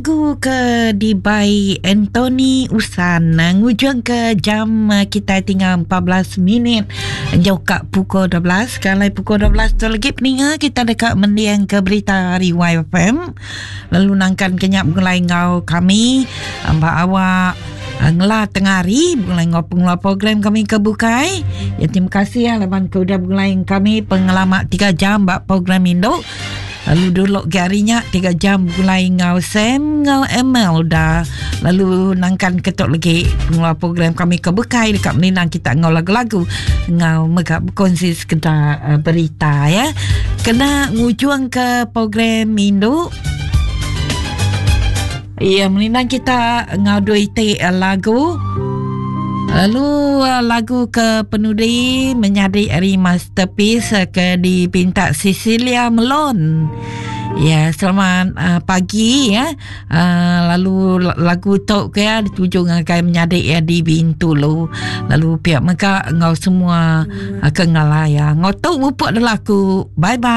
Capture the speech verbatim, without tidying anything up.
Lagu ke dibai Anthony Usan ngujung ke jam kita tinggal empat belas minit jauh ka pukul dua belas. Kalau pukul dua belas tu lagi peninga kita dekat mendiang ke berita hari Y F M. Lalu nangkan kenyap mulai ngau kami mbak awak ngela tengah hari mulai ngau pengeluar program kami ke bukai. Ya, terima kasih ya laban ke udah mulai kami pengalaman tiga jam mbak program Indo. Lalu dulu harinya tiga jam mulai ngau Sam ngau M L dah. Lalu nangkan ketuk lagi pengeluar program kami ke bukai dekat meninang kita ngau lagu-lagu ngau megak berkongsi sekedar uh, berita ya. Kena ngujung ke program Indo. Ya, meninang kita ngau dua itik lagu. Lalu lagu ke penudi menjadi hari masterpiece ke dipinta Cecilia Melon. Ya, selamat uh, pagi ya. Uh, lalu lagu tok ke ya dituju ngagai menyadik ya di Bintulu. Lalu pihak mereka ngau semua uh, kengalaya. Ngau tok mupuk dah laku. Bye bye.